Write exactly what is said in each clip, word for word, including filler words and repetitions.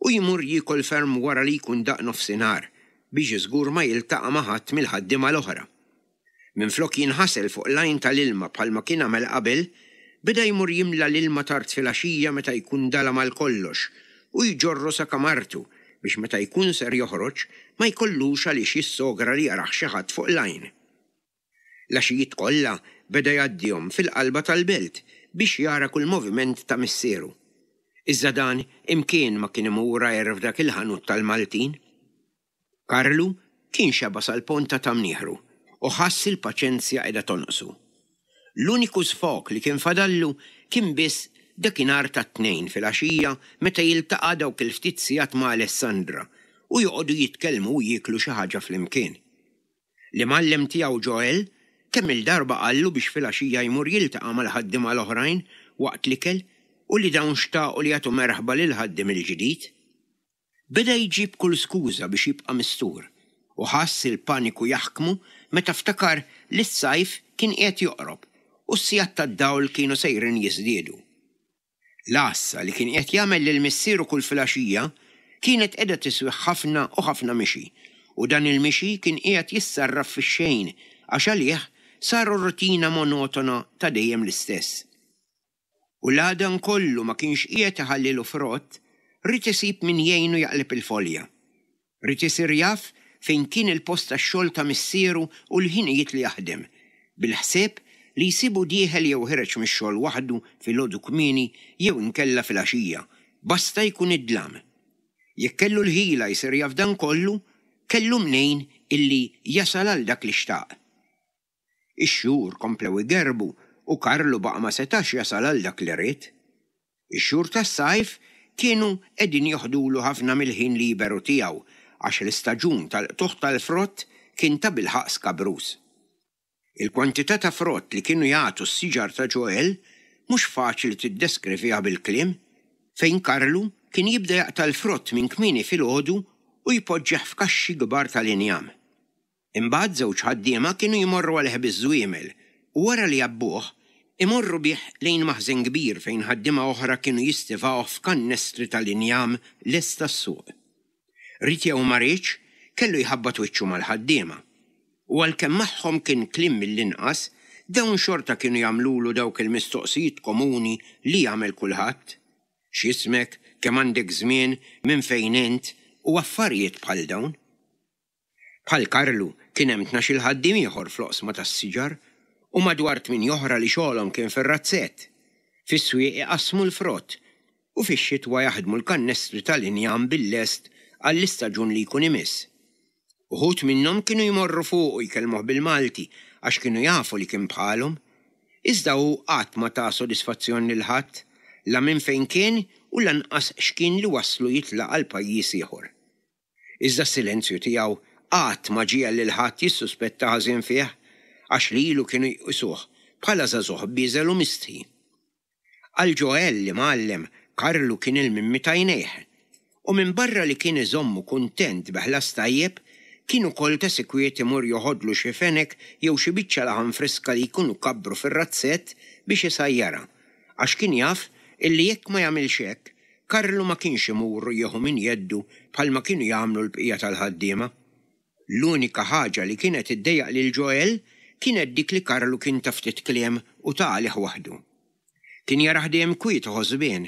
u jmur jiekol ferm wara li jkun daqq nofsinhar biex żgur ma jiltaqa' ma' ħadd mill-ħaddiema l-oħra. Minflok jinħasel fuq l-għajn tal-ilma bħalma kien għamel qabel, beda jmur jimla l-ilma tard filgħaxija meta jkun dalam għal kollox u jġorru sa kamartu biex meta jkun ser joħroġ ma jkollux għaliex jissogra li jarah xi ħadd fuq l-għajn. L-għaxijiet kollha beda jgħaddihom fil-qalba tal-belt biex jara kull moviment ta' missieru. Iżda dan imkien ma kien imur għajr f'dak il-ħanut tal-Maltin. Karlu kien xeba' sal-ponta ta' mnieħru u ħass il-paċenzja qiegħda tonqsu. L-uniku sfog li kien fadallu kien biss dakinhar tat-Tnejn filgħaxija meta jiltaqa' dawk il-ftit sigħat ma' Alessandra u joqogħdu jitkellmu u jieklu xi ħaġa flimkien. L-imgħallem tiegħu Joel kemm-il darba qallu biex filgħaxija jmur jiltaqa' mal-ħaddiema l-oħrajn waqt l-ikel u li dawn xtaqu li jagħtu merħba lill-ħaddiem il-ġdid. Beda jġib kull skuża biex jibqa' mistur u ħass il-paniku jaħkmu meta ftakar li s-sajf kien qiegħed joqrob u s-sigħat tad-dawl kienu sejrin jiżdiedu. L-għassa li kien qiegħed jagħmel lil missieru kull filgħaxija kienet qiegħda tiswih ħafna u ħafna mixi u dan il-mixi kien qiegħed jissarraf fix-xejn għax għalih saru rutina monotona ta' dejjem l-istess. U la dan kollu ma kienx qiegħed iħallilu frott, ried isib min jgħinu jaqleb il-folja. Ried isir jaf fejn kien il-post tax-xogħol ta' missieru u l-ħinijiet li jaħdem, bil-ħsieb li jsibu dieħel jew ħiereġ mix-xogħol waħdu filgħodu kmieni jew inkella filgħaxija, basta jkun id-dlam. Jekk kellu l-ħila jsir jaf dan kollu, kellu mnejn illi jasal għal dak li xtaq. Ix-xhur komplew igerbu u Karlu baqa' ma setax jasal għal dak li ried. Ix-xhur tas-sajf kienu qegħdin joħdulu ħafna mill-ħin liberu tiegħu għax l-istaġun tal-qtugħ tal-frott kien tabilħaqq skabruż. Il-kwantità ta' frott li kienu jagħtu s-siġar ta' Joel mhux faċli tiddeskriviha bil-kliem, fejn Karlu kien jibda jaqta' l-frott minn kmieni filgħodu u jpoġġih f'kaxxi kbar tal-injam. Imbagħad żewġ ħaddiema kienu jmorru għalih biż-żwiemel u wara li jgħabbuh, imorru bih lejn maħżen kbir fejn ħaddiema oħra kienu jistivawh f'kannestri tal-injam lest għas-suq. Ried jew ma riedx, kellu jħabbat wiċċu mal-ħaddiema. U għalkemm magħhom kien kliem mill-inqas, dawn xorta kienu jagħmlulu dawk il-mistoqsijiet komuni li jagħmel kulħadd. X'ismek, kemm għandek żmien, minn fejn int, u affarijiet bħal dawn. Bħal Karlu kien hemm tnax-il ħaddiem ieħor fl-oqsma tas-siġar u madwar tmien oħra li xogħolhom kien fir-razzett. Fis-swieq iqassmu l-frott u fix-xitwa jaħdmu l-kannestri tal-injam bil-lest għall-istaġun li jkun imiss. Uħud minnhom kienu jmorru fuq u jkellmuh bil-Malti għax kienu jafu li kien bħalhom. Iżda hu qatt ma ta sodisfazzjon lil ħadd, la minn fejn kien u lanqas x'kien li waslu jitlaq għal pajjiż ieħor. Iżda s-silenzju tiegħu qatt ma ġiegħel lil ħadd jissuspetta ħażin fih għax lilu kienu jqisuh bħala żagħżugħ bieżel u mistħi. Għal Joel l-imgħallem, Karlu kien il-mimmi t'għajnejh. U minn barra li kien iżommu kuntent bi ħlas tajjeb, kien ukoll ta' sikwit imur joħodlu xi fenek jew xi biċċa laħam friska li jkunu kabbru fir-razzett biex isajjarha, għax kien jaf illi jekk ma jagħmilx hekk, Karlu ma kienx imur u jieħu minn jeddu bħalma kienu jagħmlu l-bqija tal-ħaddiema. L-unika ħaġa li kienet iddejjaq lil Joel kienet dik li Karlu kien ta' ftit kliem u ta' għalih waħdu. Kien jarah dejjem kwiet u ħosbien,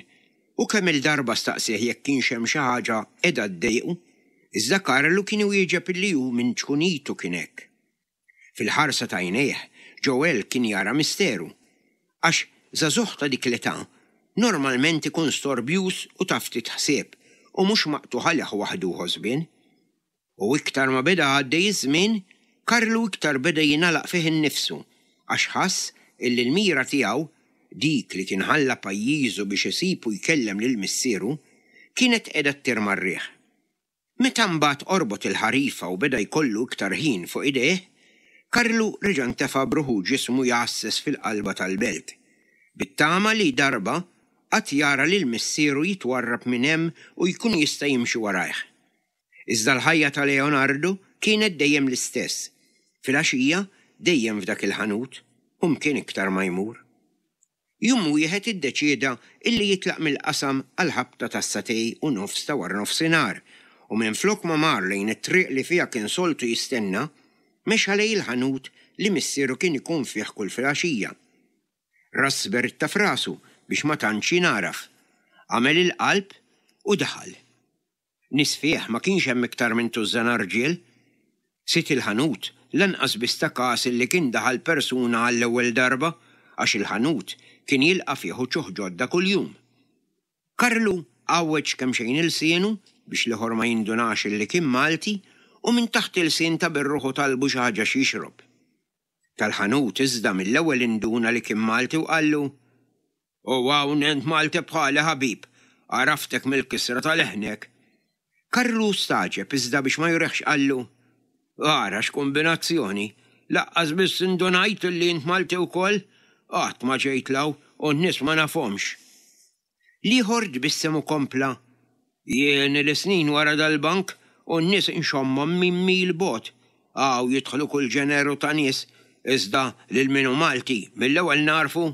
u kemm il-darba staqsieh jekk kienx hemm xi ħaġa qiegħda ddejqu, iżda Karlu kien iwieġeb illi hu minn ċkunitu kien hekk. Fil-ħarsa ta' għajnejh, Joel kien jara misteru, għax żagħżugħ ta' dik l-età normalment ikun storbjuż u ta' ftit ħsieb u mhux maqtugħ għalih waħdu ħosbien. U iktar ma beda għaddej iż-żmien, Karlu iktar beda jingħalaq fih innifsu għax ħass illi l-mira tiegħu, dik li kien ħalla pajjiżu biex isib u jkellem lil missieru, kienet qiegħda ttir mar-riħ. Meta mbagħad qorbot il-ħarifa u beda jkollu iktar ħin fuq idejh, Karlu reġa' ntefa' b'ruħu ġismu jgħasses fil-qalba tal-belt, bit-tama li darba qatt jara lil missieru jitwarrab minn hemm u jkun jista' jimxi warajh. Iżda l-ħajja ta' Leonardo kienet dejjem l-istess, filgħaxija dejjem f'dak il-ħanut u mkien iktar ma jmur. Jum wieħed iddeċieda illi jitlaq mill-qasam għall-ħabta tas-sagħtejn u nofs ta' waranofsinhar u minflok ma mar lejn it-triq li fiha kien soltu jistenna, mexa lejn il-ħanut li missieru kien ikun fih kull filgħaxija. Rass beritta f'rasu biex ma tantx jingħaraf. Għamel il-qalb u daħal. Nies fih ma kienx hemm iktar minn tużżana rġiel. Sid il-ħanut lanqas biss ta kas illi kien daħal persuna għall-ewwel darba għax il-ħanut kien jilqa' fih uċuħ ġodda kuljum. Karlu għawweġ kemxejn ilsienu biex l-ieħor ma jindunax illi kien Malti u minn taħt ilsien ta' bir-ruħu talbu xi ħaġa x'jixrob. Tal-ħanut iżda mill-ewwel induna li kien Malti u qallu, U hawn int Malti bħali ħabib, għaraftek mill-kisra ta' leħnek. Karlu stagħġeb iżda biex ma jurihx qallu, Ara x'kumbinazzjoni, lanqas biss indunajt li int Malti wkoll, qatt ma ġejt 'l hawn u n-nies ma nafhomx. L-ieħor tbissem u kompla, Jien ili snin wara dal-bank u n-nies inxommhom minn mil bogħod. Hawn jidħlu kull ġeneru ta' nies, iżda lil min hu Malti mill-ewwel nagħrfu.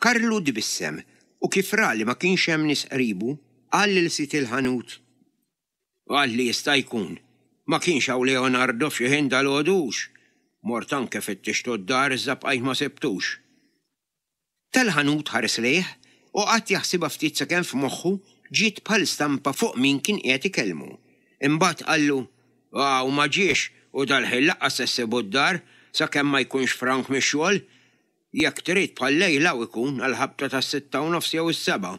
Karlu tbissem u kif ra li ma kienx hemm nies qribu, qal lil sid il-ħanut, Qalli jista' jkun, ma kienx hawn Leonardo f'xi ħin dalgħodu hux? Mort anke fittixtu d-dar iżda bqajt ma sibtux. Tal-ħanut ħares lejh u qagħad jaħsibha ftit sakemm f'moħħu ġiet bħal stampa fuq min kien qiegħed ikellmu. Imbagħad qallu, Hawn ma ġiex u dal-ħin lanqas se ssibu d-dar sakemm ma jkunx frank mix-xogħol. Jekk trid bħal-lejl hawn ikun għall-ħabta tas-sitta u nofs jew is-sebgħa.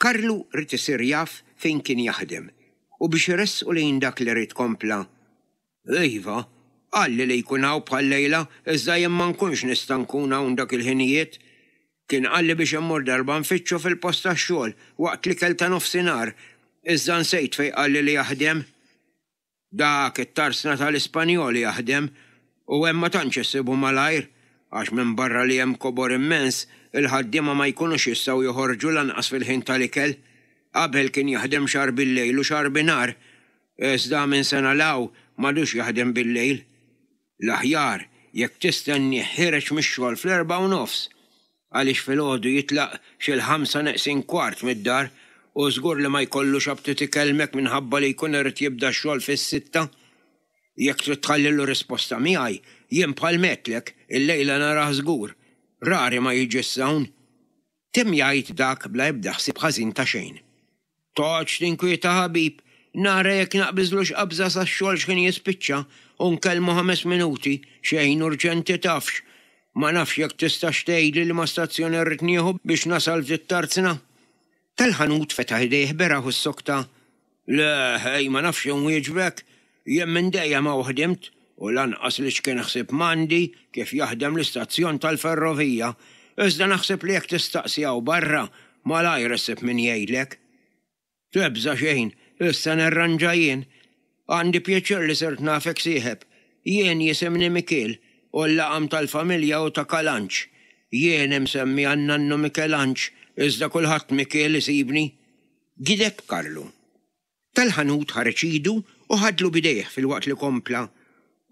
Karlu ried isir jaf fejn kien jaħdem u biex iressqu lejn dak li ried kompla, Iva, qalli li jkun hawn bħal-lejla iżda jien ma nkunx nista' nkun hawn dak il-ħinijiet. Kien qalli biex immur darba nfittxu fil-post tax-xogħol waqt l-ikel ta' nofsinhar, iżda nsejt fejn qalli li jaħdem. Dak it-tarsna tal-Ispanjoli jaħdem u hemm ma tantx issibu malajr għax minbarra li hemm kobor immens, il-ħaddiema ma jkunux jistgħu joħorġu lanqas fil-ħin tal-ikel. Qabel kien jaħdem xahar bil-lejl u xahar binhar, iżda minn sena 'l hawn m'għadux jaħdem bil-lejl. L-aħjar jekk tistennieh ħiereġ mix-xogħol fl-erbgħa u nofs, għaliex filgħodu jitlaq xi l-ħamsa neqsin kwart mid-dar u żgur li ma jkollux aptit ikellmek minħabba li jkun irid jibda x-xogħol fis-sitta. Jekk trid tħallilu risposta miegħi, jien bħal m'għedtlek, illejla narah żgur. Rari ma jiġi s'hawn. Temm jgħid dak bla ebda ħsieb ħażin ta' xejn. Toqgħodx tinkwieta ħabib, nara jekk naqbiżlux qabża sax-xogħol x'ħin jispiċċa u nkellmu ħames minuti, xejn urġenti tafx. Ma nafx jekk tistax tgħidli liema stazzjon irrid nieħu biex nasal f'dit-tarzna. Tal-ħanut fetaħ idejh beraħ u ssokta, Le, ħej, ma nafx inwieġbek, jien minn dejjem hawn ħdimt u lanqas li x'kien ħsieb m'għandi kif jaħdem l-istazzjon tal-ferrovija, iżda naħseb li jekk tistaqsi hawn barra malajr issib min jgħidlek. Tibża' xejn, issa nirranġa jien. Għandi pjaċir li sirt nafek sieħeb. Jien jisimni Mikiel u l-laqam tal-familja hu ta' Kalanġ. Jien imsemmi għan-nannu Mikelanġ, iżda kulħadd Mikiel isibni. Gideb Karlu. Tal-ħanut ħareġ idu u ħadlu b'idejh filwaqt li kompla,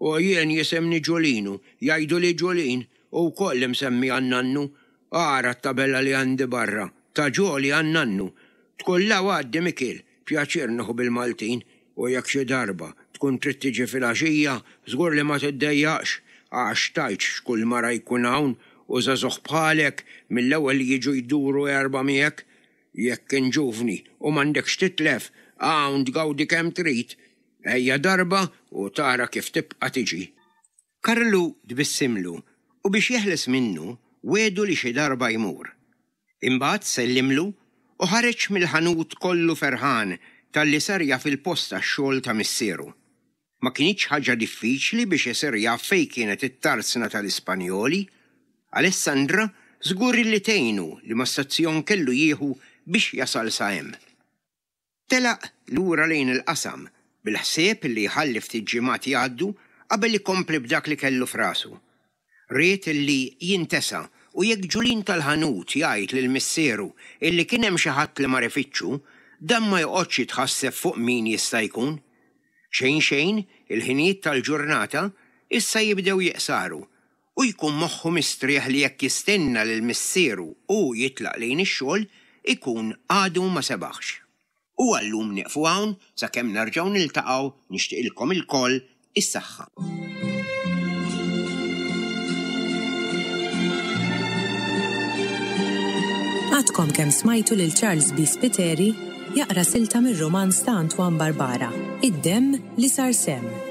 U jien jisimni Ġulinu, jgħiduli Ġulin, u wkoll imsemmi għan-nannu. Ara t-tabella li għandi barra, ta' Ġoli għan-nannu. Tkun 'l hawn għaddi Mikiel, pjaċir nieħu bil-Maltin, u jekk xi darba tkun trid tiġi filgħaxija, żgur li ma tiddejjaqx, għax tgħidx x'kull mara jkun hawn u żagħżugħ bħalek mill-ewwel jiġu jduru erba' miegħek. Jekk int ġuvni u m'għandekx titlef, hawn tgawdi kemm trid. Ejja darba u tara kif tibqa' tiġi. Karlu tbissimlu u biex jeħles minnu wiegħdu li xi darba jmur. Imbagħad sellimlu u ħareġ mill-ħanut kollu ferħan talli sar jaf il-post tax-xogħol ta' missieru. Ma kinitx ħaġa diffiċli biex isir jaf fejn kienet it-tarzna tal-Ispanjoli. Alessandra żgur li tgħinu liema stazzjon kellu jieħu biex jasal sa hemm. Telaq lura lejn il-qasam bil-ħsieb li jħalli ftit ġimgħat jgħaddu qabel ikompli b'dak li kellu f'rasu. Ried li jintesa u jekk Ġulin tal-ħanut jgħid lil missieru illi kien hemm xi ħadd li mar ifittxu, dan ma joqgħodx jitħasseb fuq min jista' jkun. Xejn xejn, il-ħinijiet tal-ġurnata issa jibdew jiqsaru u U jkun moħħu mistrieħ li jekk jistenna lil missieru u jitlaq lejn ix-xogħol, ikun għadu ma sebaħx. U għallum nieqfu hawn sakemm nerġgħu niltaqgħu nixtieqilkom ilkoll is-saħħa. Għadkom kemm smajtu lil Charles B. Spiteri jaqra silta mir-rumanz ta' Antoine Barbara, Id-demm li sar semm.